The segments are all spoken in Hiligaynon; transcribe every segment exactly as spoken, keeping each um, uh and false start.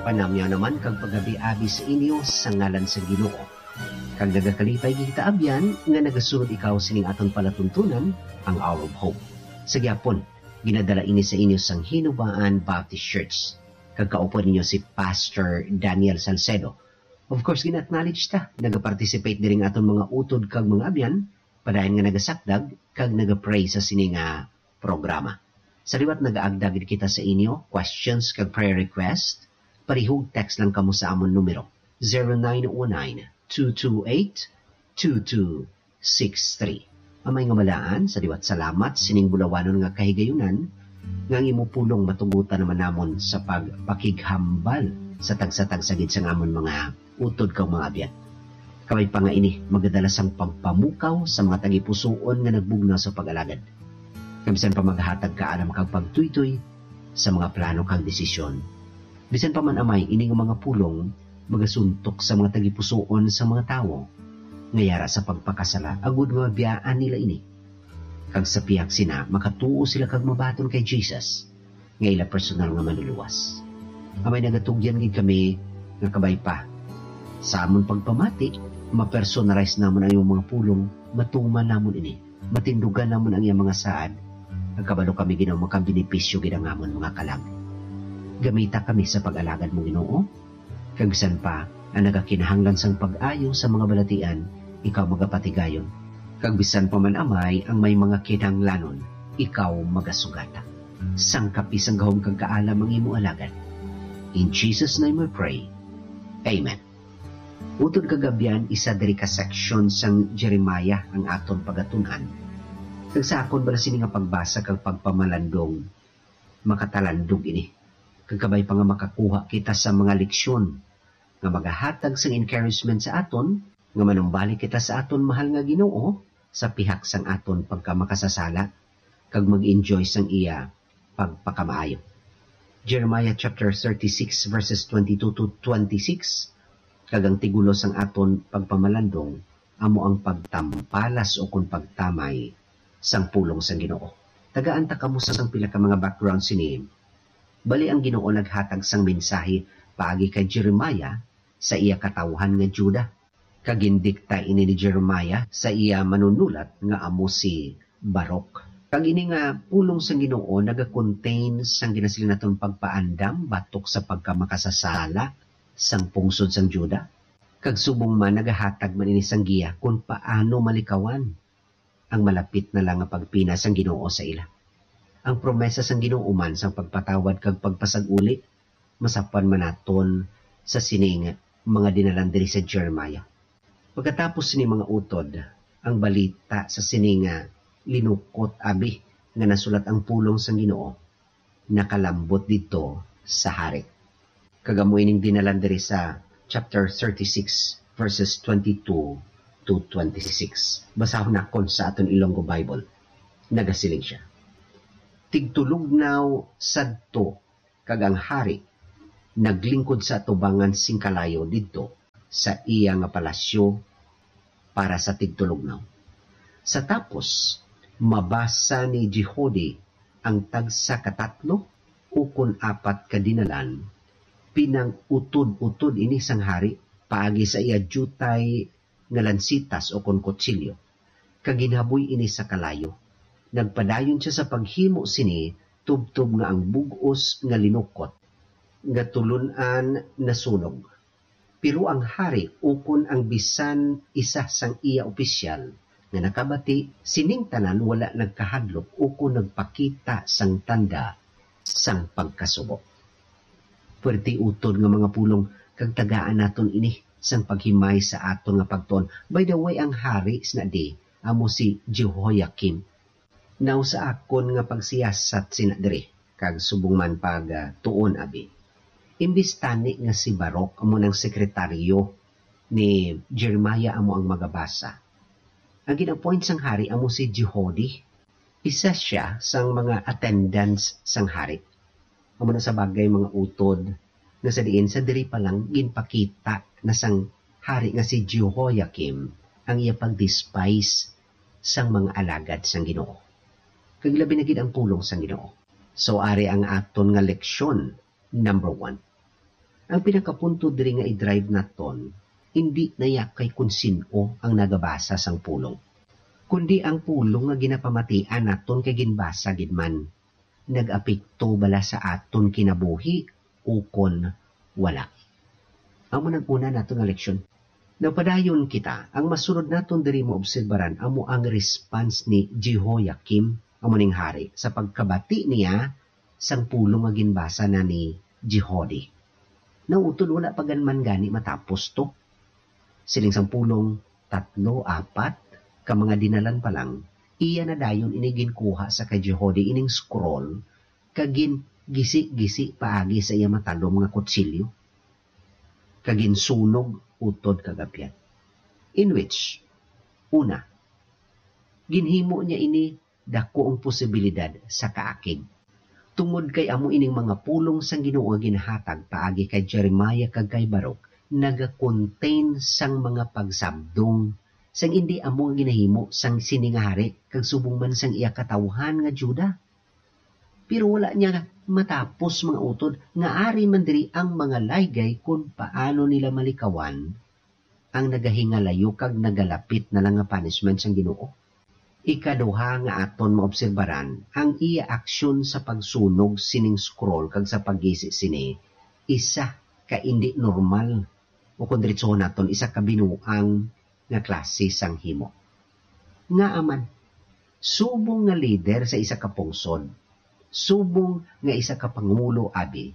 Panamyaw naman kag pagabi-abi sa inyo sa ngalan sa Ginoo. Kag nagakalipay kita, abyan, nga nagasunod ikaw sining aton palatuntunan, ang Hour of Hope. Sa gyapon, ginadala ini sa inyo sang Hinubaan Baptist Church, kag kaupod ninyo si Pastor Daniel Salcedo. Of course, gina-acknowledge ta, nagaparticipate diri nga aton mga utod kag mga abyan, padayon nga nagasakdag kag nagapray sa sini nga programa. Sa liwat, nagaagda gid kita sa inyo, questions kag prayer request, palihog text lang kamo sa amon numero, zero nine one nine, two two eight, two two six three. Amay nga malaan, sa liwat salamat sining bulawanon nga kahigayunan, nga ang imo pulong matugutan naman namon sa pagpakighambal sa tagsa-tagsa gid sang amon mga utod kag mga abyan. Kabay pa nga ini, magadala sang pagpamukaw sa mga tagipusoon nga nagbugnaw sa pag-alagad. Kag bisan pa maghatag kaalam kag pagtuytoy sa mga plano kag desisyon. Bisan pa man, Amay, ini nga mga pulong magasuntok sa mga tagipusoon sa mga tawo nga yara sa pagpakasala, agod nga mabiyaan nila ini. Kag sa pihak sina, makatuo sila kag mabaton kay Jesus nga ila personal nga Manluluwas. Amay, nagatugyan gid kami nga kabay pa sa amon pagpamati, ma-personalize namon ang imong mga pulong, matuman namon ini, matindugan namon ang iyang mga saad, kag kabalo kami, Ginoo, makabenepisyo gid ang amon mga kalag. Gamita kami sa pag-alagad mo, Ginoo, kag bisan pa ang nagakinahanglan sang pag-ayo sa mga balatian, ikaw magapatigayon. Kag bisan pa man, Amay, ang may mga kinahanglanon, ikaw magasugata. Sangkapi sang gahom kag kaalam ang imo alagad. In Jesus' name we pray. Amen. Utod kag abyan, isa diri ka section sang Jeremiah ang aton pagatun-an. Kag sa akon bala sini nga pagbasa kag pagpamalandong, makatalandog ini. Kag kabay pa nga makakuha kita sa mga leksyon nga magahatag sang encouragement sa aton, nga manumbalik kita sa aton mahal nga Ginoo sa pihak sang aton pagkamakasasala, kag mag-enjoy sang iya pagpakamaayo. Jeremiah chapter thirty-six, verses twenty-two to twenty-six, kag ang tigulo sang aton pagpamalandong amo ang pagtampalas ukon pagtamay sang pulong sang Ginoo. Tagaan ta kamo sang pila ka mga background sini. Bali, ang Ginoo naghatag sang mensahe paagi kay Jeremiah sa iya katawuhan nga Juda. Kag gindikta ini ni Jeremiah sa iya manunulat nga amo si Baruch. Kag ini nga pulong sang Ginoo naga-contain sang ginasiling naton pagpaandam batok sa pagkamakasasala sang pungsod sang Juda. Kag subong man, nagahatag man ini sang giya kon paano malikawan ang malapit na lang nga pagpina sang Ginoo sa ila. Ang promesa sang Ginoo man sang pagpatawad kag pagpasag-uli, masapwan man naton sa sining mga dinalan diri sa Jeremiah. Pagkatapos sini mga utod, ang balita sa sini nga linukot abi nga nasulat ang pulong sang Ginoo nakalambot didto sa hari. Kag amo ining dinalan diri sa chapter thirty-six, verses twenty-two to twenty-six. Basahon nakon sa aton Ilonggo Bible. Nagasiling sia, "Tigtulugnaw sadto, kag ang hari naglingkod sa atubangan sing kalayo didto sa iya nga palasyo para sa tigtulugnaw. Sa tapos, mabasa ni Jehudi ang tagsa ka tatlo ukon apat ka dinalan, pinang-utod-utod ini sang hari paagi sa iya diutay nga lansitas ukon kutsilyo, kag ginhaboy ini sa kalayo. Nagpadayon sia sa paghimo sini tubtob nga ang bug-os nga linukot nga tulon-an nasunog. Pero ang hari ukon ang bisan isa sang iya opisyal nga nakabati sining tanan wala nagkahadlok ukon nagpakita sang tanda sang pagkasubo." Puwerte utod nga mga pulong, kag tagaan naton ini sang paghimay sa aton nga pagtuon. By the way, ang hari sina di amo si Jehoiakim. Now, sa akon nga pagsiyasat sina diri, kag subong man pag, ah, tuon abi, imbis tani nga si Baruch amo nang sekretaryo ni Jeremiah amo ang magabasa, ang gin-appoint sang hari amo si Jehudi. Isa sia sang mga attendants sang hari. Amo na sa bagay, mga utod, nga sa diin sa diri pa lang ginpakita na sang hari nga si Jehoiakim ang iya pag-despise sang mga alagad sang Ginoo, kag labi na gid ang pulong sang Ginoo. So, ari ang aton nga leksyon, number one. Ang pinakapunto diri nga i-drive naton, hindi na ya kay kon sin-o ang nagabasa sang pulong, kundi ang pulong nga ginapamatian naton kay ginbasa gid man, nag-apekto bala sa aton kinabuhi ukon wala. Amo nang una naton nga leksyon. Nagpadayon kita, ang masunod naton diri maobserbaran amo ang response ni Jehoiakim, amo ning hari, sa pagkabati niya sang pulong nga ginbasa na ni Jehudi. Nautod wala pa gan man gani matapos to. Siling sang pulong, tatlo, apat ka mga dinalan pa lang, iya na dayon ini ginkuha sa kay Jehudi ining scroll kag gin-gisi-gisi paagi sa iya matalom nga kutsilyo, kag ginsunog utod kag abyan. In which, una, ginhimo niya ini daku ang posibilidad sa kaakig. Tungod kay amo ining mga pulong sang Ginoo nga ginhatag paagi kay Jeremiah kag kay Baruch, naga-contain sang mga pagsabdong sang indi amo nga ginahimo sang sini nga hari kag subong man sang iya katawhan nga Juda. Pero wala niya matapos, mga utod, nga ari man diri ang mga laygay kon paano nila malikawan ang nagahingalayo kag nagalapit na lang nga punishment sang Ginoo. Ikaduha nga aton maobserbaran, ang iya aksyon sa pagsunog sining scroll kag sa paggisi sini, isa ka indi normal, o kon diretsohon naton, isa ka binuang nga klase sang himo. Ngaa man, subong nga lider sa isa ka pungsod, subong nga isa ka pangulo, abi,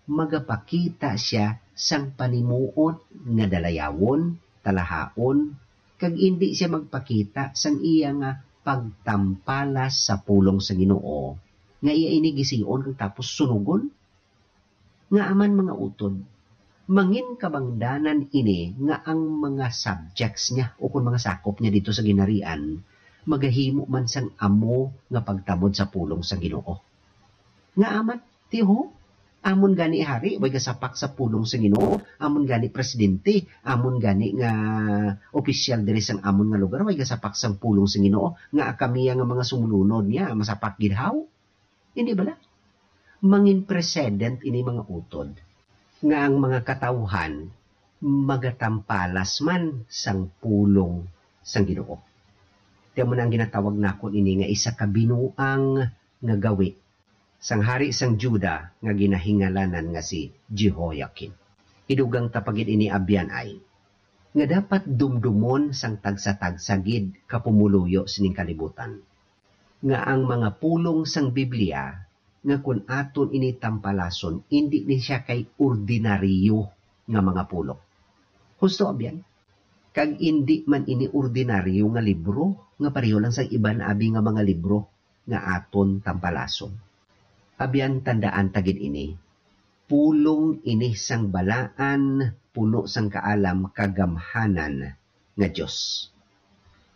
magapakita sia sang panimuot nga dalayawon, talahaon, kag indi sia magpakita sang iya nga pagtampalas sa pulong sa Ginoo, nga iya ini gisiyon kag tapos sunugon? Ngaa man, mga utod, mangin kabangdanan ini nga ang mga subjects niya, o kon mga sakop niya dito sa ginharian, magahimo man sang amo nga pagtamod sa pulong sa Ginoo. Ngaa man, tiyo, amon gani hari, way gasapak sa pulong sa Ginoo, amon gani presidente, amon gani nga opisyal diri sang amon nga lugar, way gasapak sang pulong sa Ginoo, nga kami nga mga sumulunod niya, masapak gid haw? Hindi bala? Mangin precedent ini, mga utod, nga ang mga katawhan magatampalas man sang pulong sang Ginoo. Kaya mo na ang ginatawag nakon ini nga isa ka binuang nga gawi sang hari sang Juda nga ginahingalanan nga si Jehoiakim. Idugang ta pa gid ini, abyan ay, nga dapat dumdumon sang tagsa-tagsa gid ka pumuluyo sining kalibutan, nga ang mga pulong sang Biblia nga kun aton ini tampalason, indi ni siya kay ordinaryo nga mga pulong. Husto, abyan? Kag indi man ini ordinaryo nga libro nga pareho lang sa iban abi nga mga libro nga aton tampalason. Abyan, tandaan ta gid ini, pulong ini sang balaan, puno sang kaalam, kagamhanan nga Dios.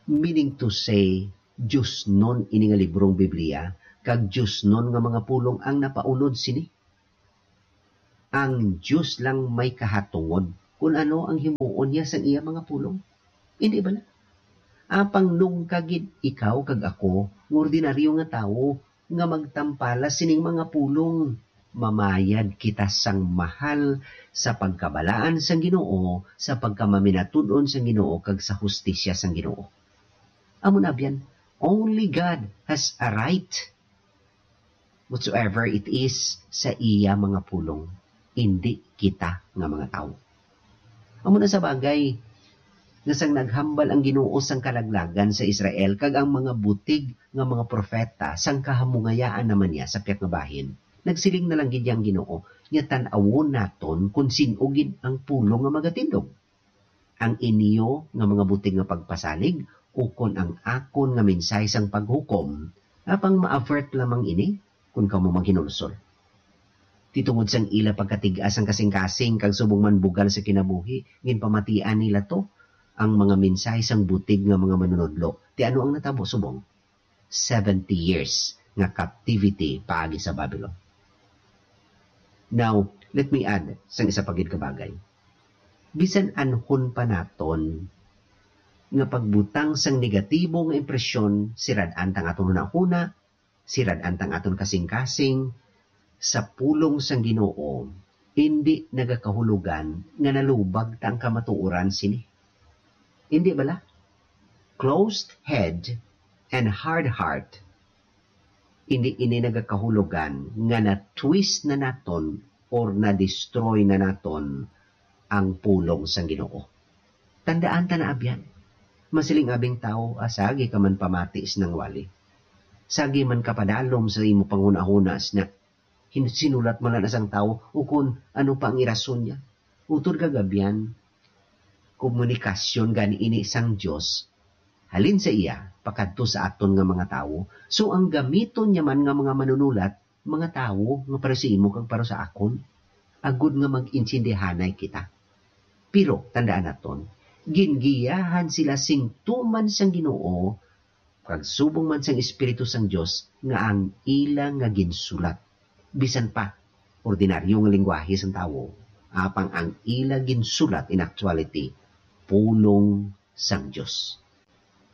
Meaning to say, diosnon ini nga librong Biblia, kag diosnon nga mga pulong ang napaunod sini. Ang Dios lang may kahatungod kun ano ang himuon niya sang iya mga pulong. Hindi bala? Apang nungka gid ikaw kag ako, nga ordinaryo nga tawo, nga magtampala sining mga pulong, mamayad kita sang mahal sa pagkabalaan sang Ginoo, sa pagkamamatud-on sang Ginoo, kag sa hustisya sang Ginoo. Amo na, abyan, only God has a right whatsoever it is sa iya mga pulong, indi kita nga mga tawo. Amo na sa bagay nga sang naghambal ang Ginoo sang kalaglagan sa Israel kag ang mga butig nga mga propeta sang kahamungayaan naman niya sa pihak nga bahin, nagsiling na lang gid ang Ginoo nga tan-awon naton kon sin-o gid ang pulong nga magatindog, ang inyo nga mga butig nga pagpasalig, ukon ang akon nga mensahe sang paghukom, apang ma-avert lamang ini kon kamo maghinulsol. Ti tungod sang ila pagkatig-a sang kasingkasing kag subong man bugal sa kinabuhi, ginpamatian nila to ang mga mensahe sang butig nga mga manunodlo. Ti ano ang natabo subong? Seventy years nga captivity paagi sa Babylon. Now, let me add sang isa pa gid ka bagay. Bisan anhon pa naton nga pagbutang sang negatibo nga impresyon, sirad-an tang aton hunahuna, sirad-an tang aton kasingkasing, sa pulong sang Ginoo, Indi nagakahulugan nga nalubag ta ang kamatuoran sini. Indi bala? Closed head and hard heart, indi ini nagakahulugan nga na-twist na naton or na-destroy na naton ang pulong sang Ginoo. Tandaan ta na, abyan. Masiling abing tawo, "Ah, sagi ka man pamati sa nangwali. Sagi man ka padalom sa imo panghunahuna, sina-, hin-, sinulat man lang na sang tawo, ukon ano pa ang irason niya." Utod kag abyan, komunikasyon gani ini sang Dios halin sa iya pakadto sa aton nga mga tawo. So, ang gamiton niya man nga mga manunulat, mga tawo nga para sa imo kag para sa akon, agod nga mag-intindihanay kita. Pero tandaan naton, gingiyahan sila sing tuman sang Ginoo, kag subong man sang Espiritu sang Dios nga ang ila nga ginsulat, bisan pa ordinaryo nga lengguwahe sang tawo, apang ang ila ginsulat in actuality pulong sang Dios.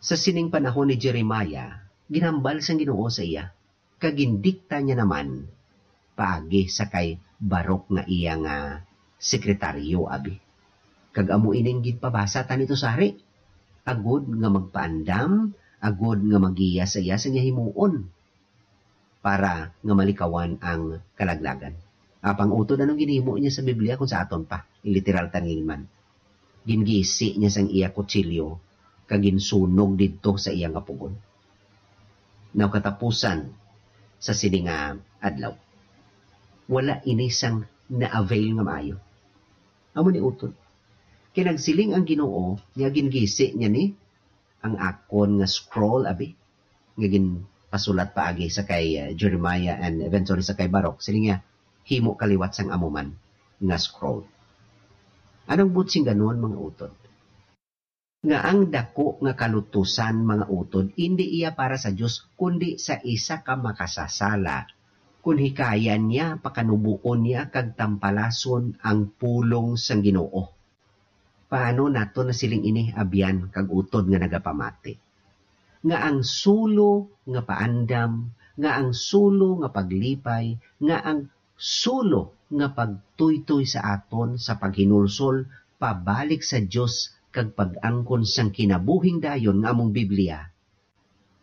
Sa sining panahon ni Jeremiah, ginhambal sang Ginoo sa iya, kag gindikta niya naman paagi sa kay Baruch nga iya nga sekretaryo, abi. Kag amo ining ginpabasa ta nito sa hari, agod nga magpaandam, agod nga magiya sa iya sa iya himuon, para nga malikawan ang kalaglagan. Apang utod, anong ginhimo niya sa Biblia kung sa aton pa? Literal tanan man. Gingisi niya sang iya kutsilyo kag ginsunog didto sa iya nga pugon. Now, katapusan sa sini nga adlaw, wala ini sang na-avail nga maayo. Amo ni utod. Kay nagsiling ang Ginoo nga gingisi niya ni ang akon nga scroll, abi, nga ginpasulat paagi sa kay, uh, Jeremiah and eventually sa kay Baruch. Siling niya, "Himo ka liwat sang amo man nga scroll." Anong buot sing ganon, mga utod? Nga ang daku nga kalutusan, mga utod, indi iya para sa Dios, kundi sa isa ka makasasala, kun hikayan niya, pakanubuon niya, kag tampalason ang pulong sang Ginoo. Paano nato nasiling ini, abyan kag utod nga nagapamati, nga ang sulo nga paandam, nga ang sulo nga paglipay, nga ang sulo nga pagtuytoy sa aton sa paghinulsol pabalik sa Dios kag pag-angkon sang kinabuhing dayon nga among Biblia,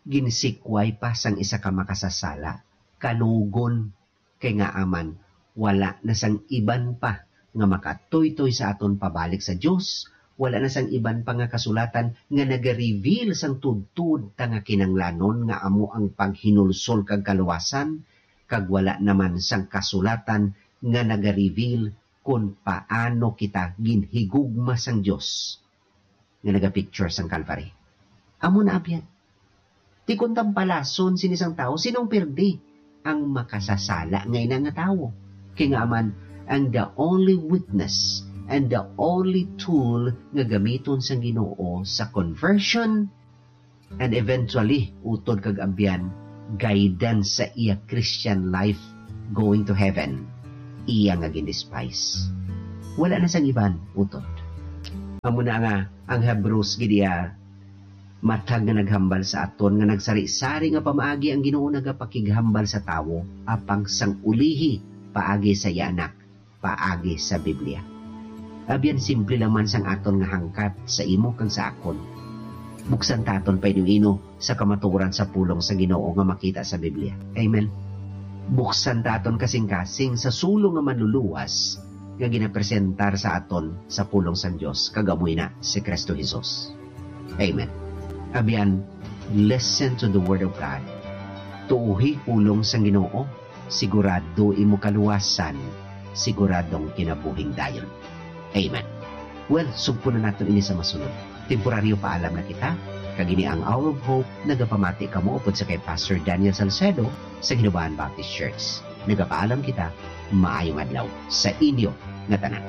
ginsikway pa sang isa ka makasasala, kanugon, kay ngaa man, wala na sang iban pa nga makatuytoy sa aton pabalik sa Dios, wala na sang iban pa nga kasulatan nga nagareveal sang tudtod ta nga kinahanglanon nga amo ang paghinulsol kag kaluwasan, kag wala naman sang kasulatan nga nagareveal kon paano kita ginhigugma sang Dios nga nagapicture sang Calvary. Amo na, abyan. Ti kon tampalason sini sang tawo, sinong pirdi? Ang makasasala nga ina nga tawo. Kay ngaa man, ang the only witness and the only tool nga gamiton sang Ginoo sa conversion and eventually, utod kag abyan, guidance sa iya Christian life going to heaven, iya nga gindespise. Wala na sang iban, utod. Amo na nga ang Hebrews gid iya, matag nga naghambal sa aton nga nagsari-sari nga pamaagi ang Ginoo nagapakighambal sa tawo, apang sang ulihi paagi sa iya Anak, paagi sa Biblia. Abyan, simple lang man sang aton nga hangkat sa imo kag sa akon. Buksan ta aton paino-ino sa kamatuoran sa pulong sa Ginoo nga makita sa Biblia. Amen. Buksan ta aton kasing-kasing sa sulo nga manluluwas nga ginapresentar sa aton sa pulong sang Dios, kag amo ina si Cristo Jesus. Amen. Abyan, listen to the word of God. Tuohi pulong sang Ginoo, sigurado imo kaluwasan, siguradong kinabuhing dayon. Amen. Well, sugpo na naton ini sa masunod. Temporaryo paalam na kita, kag ini ang Hour of Hope, nagapamati kamo upod sa kay Pastor Daniel Salcedo sa Hinubaan Baptist Church. Nagapaalam kita, maayong adlaw sa inyo nga tanan.